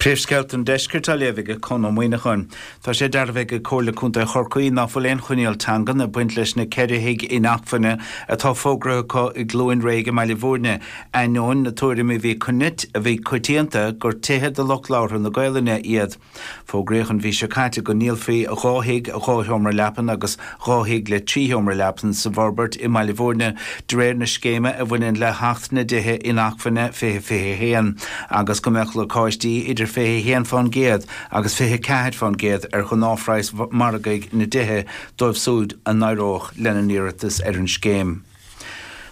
Príomhscéalta an Deiscirt á léamh ag Conn Ó Muíneacháin. Tá sé dearbhaithe ag Comhairle Contae Chorcaí ná fuil aon choinníoll teangan ag baint leis na 4 thigh inacmhainne atá fógraithe acu i gCluain Réidh i mBaile Bhúirne, ainneoin na tuairime a bhí coitianta gur tithe do lucht labhartha na Gaolainne iad. Fógraíodh an mhí seo caite go ndíolfaí 2 thigh 2 sheomra leapan agus 2 thigh le 3 sheomra leapan sa bhforbairt i mBaile Bhúirne de réir na scéime a bhaineann le hAcht na dTithe Inacmhainne 2021 agus go mbeadh lacáistí idir 21% agus 24% ar ghnáthphraghas margaidh na dtithe dóibh súid a n-éireodh lena n-iarratas ar an scéim.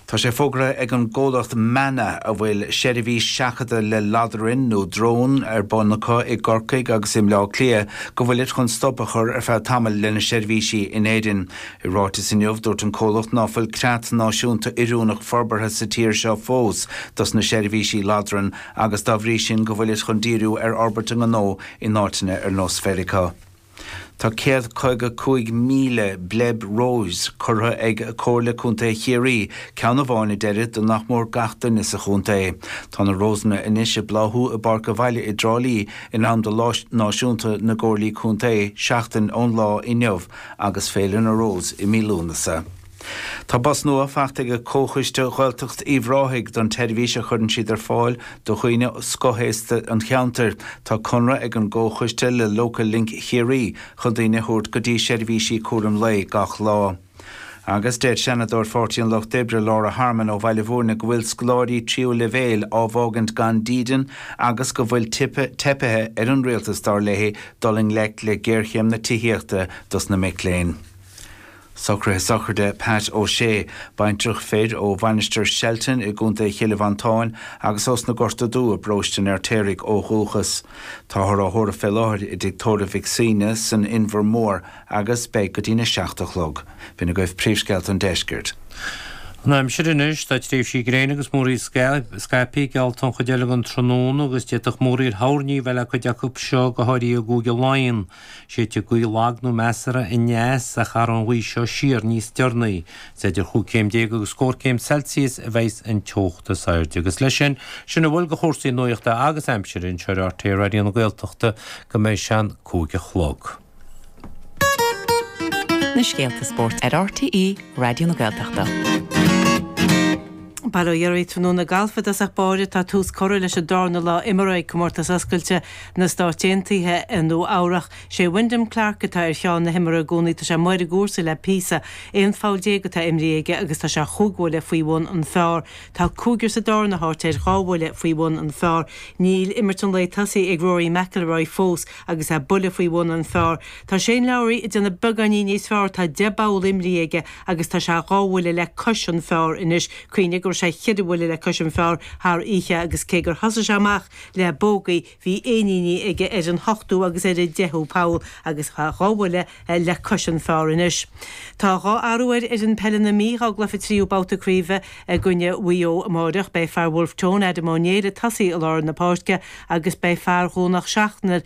Tá sé fógraithe ag an gcomhlacht Manna, a bhfuil seirbhís seachadta le ladrainn nó drón ar bun acu i gCorcaigh agus i mBleá Cliath, go bhfuilid chun stop a chur ar feadh tamaill lena seirbhísí in Éirinn. I ráiteas inniu, dúirt an comhlacht ná fuil creat náisiúnta oiriúnach forbartha sa tír seo fós dos na seirbhísí ladrann agus dá bhrí sin go bhfuilid chun díriú ar fhorbairt a ngnó in áiteanna ar nós Mheiriceá. Tá 155,000 bleib rose curtha ag Comhairle Contae Chiarraí, ceann amháin a deirid do nach mór gach duine sa chontae. Tá na rósanna anois ag bláthú i bPáirc an Bhaile i dTrá Lí in am do Lá Náisiúnta na gComhairlí Contae seachtain ón lá inniu agus Féile na Rós i mí Lúnasa. Tá bus nua faighte ag Comhchoiste Ghaeltacht Uíbh Ráthaigh don tseirbhís a chuireann siad ar fáil do dhaoine scothaosta an cheantair. Tá conradh ag an gComhchoiste le Local Link Chiarraí chun daoine a thabhairt go dtí seirbhísí cúraim lae gach lá. Agus deir Seanadóir Pháirtí an Lucht Oibre Laura Harmon ó Bhaile Bhúirne go bhfuil scoláirí tríú leibhéil á bhfágaint gan dídean agus go bhfuil teipithe ar an rialtas dar léi dul i ngleic le géarchéim na tithíochta dos na mic léinn. Socruithe sochraide Pat O'Shea, baintreach fir ó Mhainistir Shelton i gContae Chille Mhantáin agus ós na Gorta Dubha i bparóiste an Fheirtéaraigh ó dhúchas. Táthar á thórramh fé láthair i dTigh Tórraimh Mhic Suibhne san Inbhear Mór agus beidh go dtína 7 a chlog. B'in agaibh príomhscéalta an deiscirt. An aimsir anois, tá tréimhsí gréine agus múraíl scaipthe geallta an chuid eile den tráthnóna agus d'fhéadfadh múraíl thoirní a bheith le cuid acu seo, go háirithe i gCúige Laighean. Séidfidh gaoth lag nó measartha aneas ach athróidh an ghaoth seo siar níos deireanaí. Is idir chúig chéim déag agus scór céim Celsius a bheidhs an teocht is airde. Agus leis sin, sin a bhfuil de chúrsaí nuachta agus aimsire anseo ar RTÉ Raidió na Gaeltachta go mbeidh sé an 5 a chlog. Na scéalta spóirt ar RTÉ Raidió na Gaeltachta. Bail ó Dhia oraibh tráthnóna gailf i dtosach báire. Tá tús curtha leis an darna lá imeartha ag Comórtas Oscailte na Stáit Aontaithe i Nua Eabhrach. Sé Wyndham Clark atá ar cheann na himeartha i gcónaí. Tá sé amuigh ar an gcúrsa le píosa. 11 pholl atá imrithe aige agus tá sé chúig bhuille faoi bhun an phar. Tá cúigear sa darna háit air, dhá bhuille faoi bhun an phar. Níl imirt an lae tosaithe ag Rory McIlroy fós agus é buille faoi bhun an phar. Tá Shane Lowry ag déanamh beagáinín níos fearr. Tá 10 bpoll imrithe aige agus tá sé dhá bhuille le cois an phar anois. Cuimhnigh go raibh sé cheithre bhuille le cois an phar thar oíche agus cé gur thosaigh sé amach le bógaí, bhí éiníní aige ar an hochtú agus ar an deichiú poll agus tá dhá bhuille le cois an phar anois. Tá dhá athrú ar fhoireann peile na Mí dhá gcluiche tríú babhta craoibhe i gcoinne Mhaigh Eo amáireach. Beidh fear Bhulf Tón, Adam Ó Néill ag tosaí i lár na páirce agus beidh fear Dhomhnach Seachnair,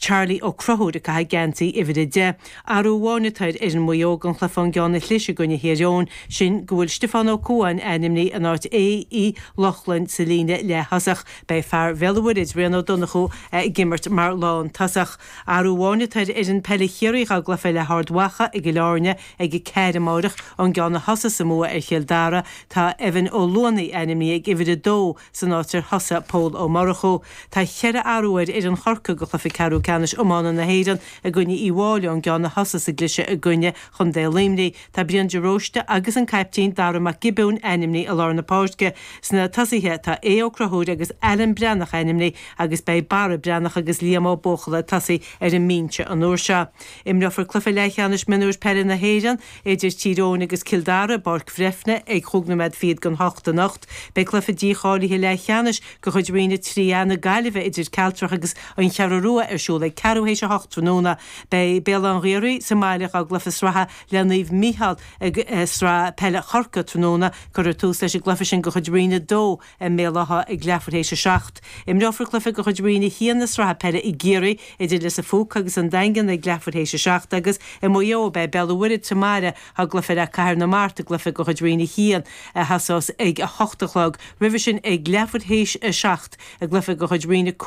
Charlie Ó Conchúir ag caitheamh geansaí uimhir 10. Athrú amháin atá ar fhoireann Mhaigh Eo don chluiche ón gceann a chlis i gcoinne Thír Eoghain, sin go bhfuil Stiofán Ó Cuaháin ainmnithe in áit Aodh Uí Lochlainn sa líne leath-thosach. Beidh fear Bhéal an Mhuirthead, Rian Ó Donnchú, ag imirt mar lán-tosach. Athrú amháin atá ar fhoireann peile Chiarraí dhá gcluiche le hArd Mhacha i gCill Airne ag a ceathair amáireach ón gceann a thosaigh sa mbua ar Chill Dara. Tá Evan Ó Luanaigh ainmnithe ag uimhir 2 San áit ar thosaigh Pól Ó Murchú, tá cheithre athrú ar fhoireann Chorcaí do chluiche ceathrú ceannais iomána na hÉireann i gcoinne Uí Fháilí ón gceann a thosaigh sa gcliseadh i gcoinne Chontae Luimnigh. Tá Brian de Róiste agus an caiptín Dara Mac Giobúin ainmnithe i lár na páirce. Sna tosaithe tá Aodh Ó Conchúir agus Alan Breathnach ainmnithe agus beidh Barra Breathnach agus Liam Ó Buachalla ag tosaí ar an mbinse an uair seo. Imreofar cluiche leathcheannais mionúir peile na hÉireann idir Tír Eoghain agus Cill Dara i bPáirc Bhreifne ag chúig nóiméad fichead don hocht anocht. Beidh cluiche dícháilithe leathcheannais de chuid Roinn 3A na Gaillimhe idir Cealtrach agus An Cheathrú Rua ar siúl ag ceathrú théis a hocht tráthnóna. Beidh Béal Átha an Ghaorthaidh sa mbaile dhá gcluiche sraithe le Naomh Mícheál i Sraith Peile Chorcaí tráthnóna. Cuirfear tús leis an gcluiche sin de chuid Roinn 2 i mBéal Átha ag leathuair théis a seacht. Imreofar cluiche de chuid Roinn 1 na Sraithe Peile i gCiarraí idir Lios a' Phúca agus an Daingean ag leathuair théis a seacht agus i Maigh Eo beidh Béal an Mhuirthead sa mbaile dhá gcluiche le Cathair na Mart i gcluiche de chuid Roinn 1 a thosós ag a hocht a chlog. Roimhe sin ag leathuair théis a seacht i gcluiche de chuid Roinn 5.